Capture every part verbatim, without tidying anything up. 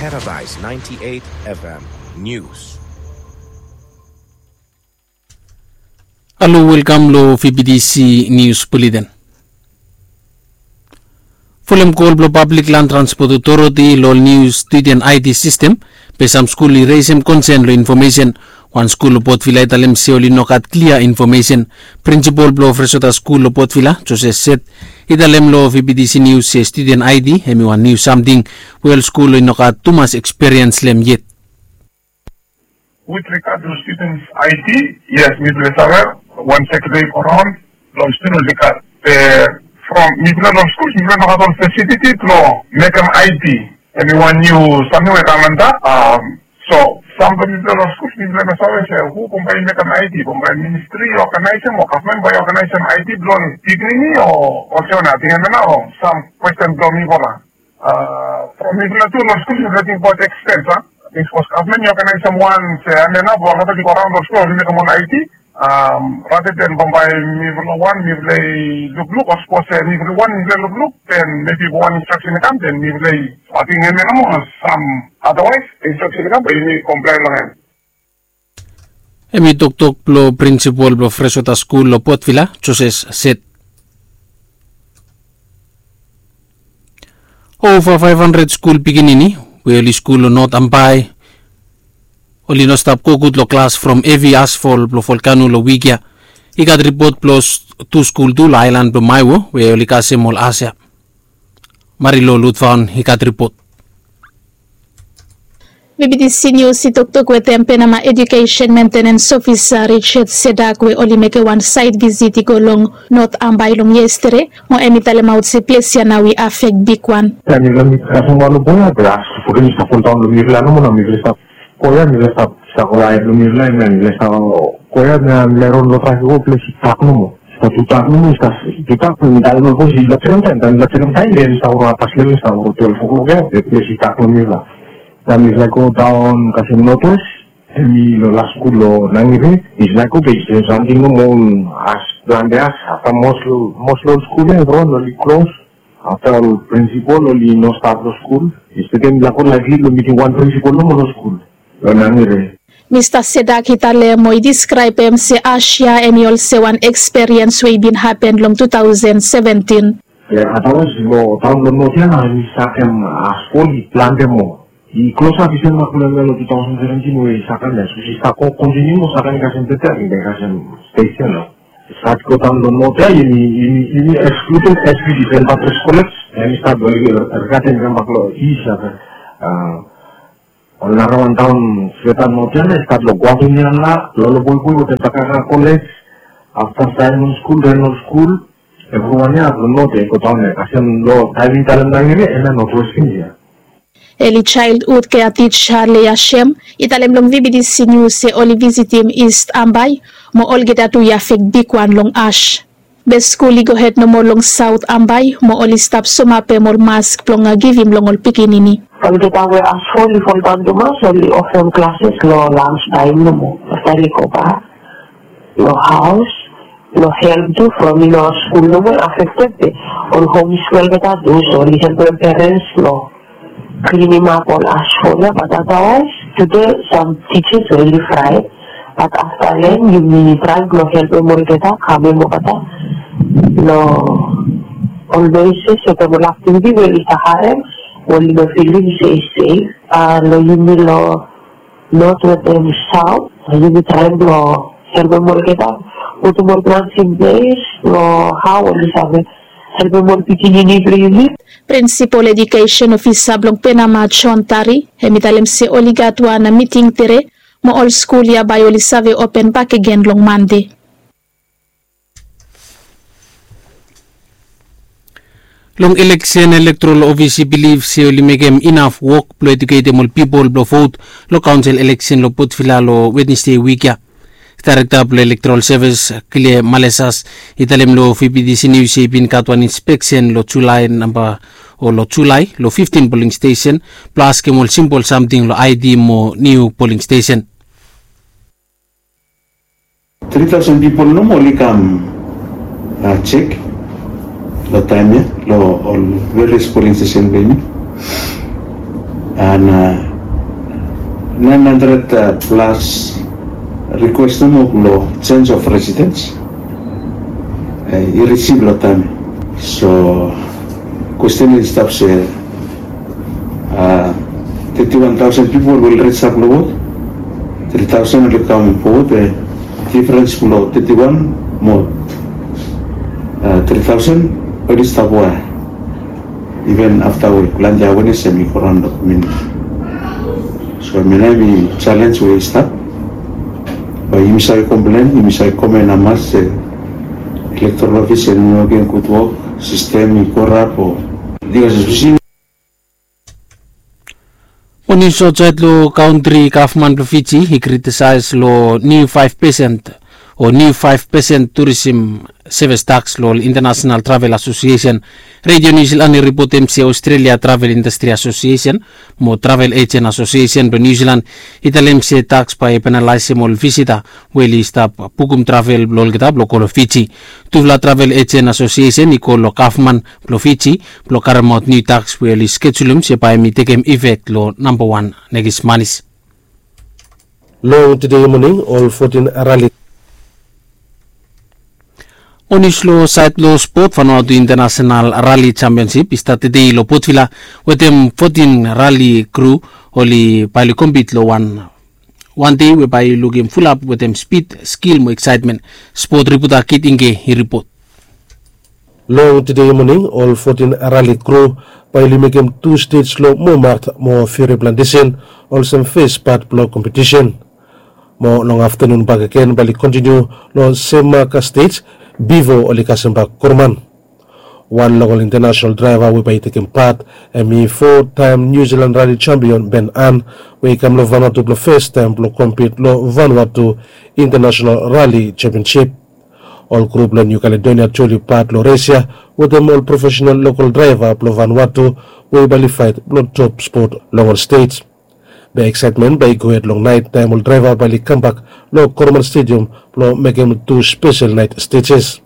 Paradise ninety-eight F M News. Halo, welkam lo V B T C News Bulletin. Folem kol blo Public Land Transport Authority lo ol niu student I D sistem, be sam skul i resem konsen lo infomesen. Wan skul lo Port Vila i talem se oli no gat klia infomesen. Prinsipol blo Freswater Skul lo Port Vila, Joseph Seth, i talem lo V B T C News se student I D hemi wan niu samting we ol skul oli no gat tumas ekspiriens lo hem yet. With regard to students I D, yes, mifala save wan sekretari i go raon lo student oli gat, eh, from mifala lo skul, mifala no gat ol fasiliti blo mekem I D. Hemi wan niu samting we kam antap, um, so sam blo mifala lo skul, mifala no save se hu bambae i mekem I D, bambae ministri i oganaesem o gavman bambae i oganaesem I D blo pikinini o olsem wanem, ating hemia nao sam kwesten blo mifala. Uh, from mifala tu lo skul mifala ting abaot ekspens, a? Ating sapos gavman i oganaesem wan se hemia nao blo olgeta i go raon lo skul oli mekem ol I D, um, rather than bambae mifala wan mifala i lukluk, o sapos se mifala wan mifala i lukluk, then maybe wan instraksen i kam, then mifala i, ating hemia nao mo sam, otherwise instraksen i kam bae yumi komplaen lo hem. Hemi toktok blo prinsipol blo Freswater Skul lo Port Vila, Joseph Seth. Ova faef handred skul pikinini we oli skul lo North Ambae oli no stap gogud lo klas from hevi asfol blo volkano lo wik ya. I gat ripot blo tu skul tu lo aelan blo Maewo we oli kasem ol as ya. Marilo Lutfaon i gat ripot. V B T C News i toktok wetem Penama Education Maintenance Officer Richard Sedak we oli mekem wan saet visit i go long North Ambae long yestede, mo hemi talemaot se ples ya nao i afek bigwan. Taem i lamit kasem wan lo boya be as fogen i stap foldaon lo mifala nomo nao mifala i stap Koya mi lesa, sa koya e blong mi lai, mi lesa, koya mi a meron lo trafik o ples i tak nomo. Sa tu tak nomo, sa tu tak nomo, dan lo pos i la sekem taem, dan la sekem taem, den sa ora pas lel sa ora twelve o'clock ya, e ples i tak nomo la. Sa mi lai go daon kasem Northwest, hemi lo las skul lo Nangire, mi lai go be i sem samting nomo, as plante as, afta mos lo, mos lo skul ya, evriwan oli klos, afta ol prinsipol oli no stap lo skul, i sekem lako laik lo mitim wan prinsipol nomo lo skul. Mista Sedak i talem mo i diskraebem se as ya hemi olsem wan ekspiriens we i bin hapen long tu taosen seventin. Atawas lo taon lo North ya nao hemi sakem, a, skul i plante moa. I klosap i sem makulem ya lo tu taosen seventin we i sakem ya, sapos i stap kontiniu mo sakem i kasem peter, i kasem stes ya nao. Stat go daon lo North ya, yumi, yumi, yumi ekskluded S B D, Saint Patrick's College, hemi stat lo, er, er, Ergaten, hemi kam bak lo East ya, a, ol narawan taon Greater North ya, i stat lo Guatun ya nao, Lolobuibui wetem Takaka College, afta Simon School, Reynolds School, evriwan ya lo North ya i go daon ya, kasem lo taem i talem nao hemia, hemia Northwest ya. Early Childhood Care Teacher Leah Shem i talem long V B T C News se oli visitim East Ambae, mo olgeta tu i afek bigwan long as. Be skul i gohed nomo long South Ambae, mo oli stap somapem ol mask blong givim long ol pikinini. Olgeta we as fo oli foldaon tumas, oli ofem klases lo lunch taem nomo. Afta oli gobak lo haos, lo help tu from i no skul nomo i afekted be ol homeschool olgeta tu, so oli helpem perens lo klinim ap ol as fo ya, bat atawaes tude sam tijas oli fraet, bat afta long yumi traem blo helpem olgeta kamem olgeta lo ol noises wetem ol aktiviti we oli stap harem, oli no filim se i sef, a, lo yumi lo North wetem South, yumi traem blo helpem olgeta, putum ol plans in ples lo hao oli save helpem ol pikinini blong yumi. Prinsipol Edukesen Ofisa blong Penama, John Tari, hemi talem se oli gat wan miting tede, mo ol skul ya bae oli save open bakegen long Mande. Long eleksen, elektorol ofis i bilif se oli mekem inaf wok blong eduketem ol pipol blong vot long kaonsel eleksen long Port Vila long Wednesde wik ya. Daerekta blong Elektorol Sevis, Kile Malesas, i talem long V B T C Nius se i bin gat wan inspeksen long Julae namba, o long Julae long fiftin poling stesen blong askem ol simpol samting long ID mo niu poling stesen. Tri taosen pipol nomo oli kam, a, jek long taem ya long ol various polling station blong yumi. And nine hundred plus request nomo blong change of residence i risif long taem ya. So kwesten i stap se thirty one thousand pipol will ris ap long vot. Three thousand oli kam fowod. Difrens blong thirty one mo three thousand oli stap wae. Even afta we planti awenes em i go raon long kominiti. So em ya nao em i jalens we i stap. Bae yumi save komplen, yumi save komen hamas se elektoral ofis em i no mekem gud wok, sistem i korap o. Bikos espeseli. Mo nius aotsaed long kantri, gavman blong Fiji i kritisaes long niu faef pesen o niu faef pesen turisim sevis taks long ol Intanasenal Travel Asosiesen. Redio Niu Silan i ripotem se Australia Travel Indastri Asosiesen mo Travel Ejen Asosiesen blong Niu Silan i talem se taks bae i penalaesem ol visita we oli stap bukum travel blong olgeta blong go long Fiji. Tufala travel ejen asosiesen i go long gavman blong Fiji blong karemaot niu taks we oli skejulum se bae hem i tekem ifek long namba wan nekis manis. Long tede moning ol fotin rali. Mo nius long saed blong spot, Vanuatu International Rally Championship i stat tede long Port Vila wetem fotin rali kru oli bae oli kompit long wan wan dei we bae i lukim fulap wetem spid, skil mo eksaetmen. Spot ripota Kit Ingke i ripot. Long tede moning ol fotin rali kru bae oli mekem tu stej long Momart mo Fere Plantesen olsem fes pat blong kompetisen. Mo long aftanun bakegen bae oli kontiniu long Semaka stej bifo oli kasem bak Korman. Wan long ol intanasenal draeva we bae i tekem pat hem i fotaem Niu Silan Rali Jampion Ben An, we i kam long Vanuatu blong fastaem blong kompit long Vanuatu Intanasenal Rali Jampionsip. Ol grup blong Niu Kaledonia tu oli pat long res ya wetem ol profesenal lokol draeva blong Vanuatu we bae oli faet blong top spot long ol stej. Be eksaetmen bae i gohed long naet taem ol draeva bae oli kambak long Korman Stediam blong mekem tu spesel naet stejes.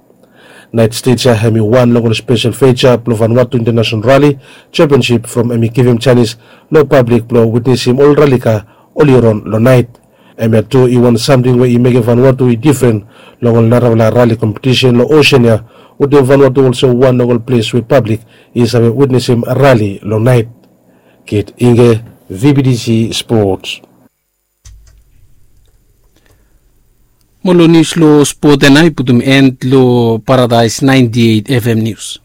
Naet stej ya hem i wan long ol spesel feja blong Vanuatu Intanasenal Rali Jampionsip from hem i givim janis long pablik blong witnesim ol rali ka oli ron long naet. Hemia tu i wan samting we i mekem Vanuatu i difren long ol narafala rali kompetisen long osen ya, wetem Vanuatu olsem wan long ol ples we pablik i save witnesim rali long naet. Kit Ingke, V B T C Sports. Mo long nius long spot ya nao i putum en long Paradaes ninety eight F M Nius.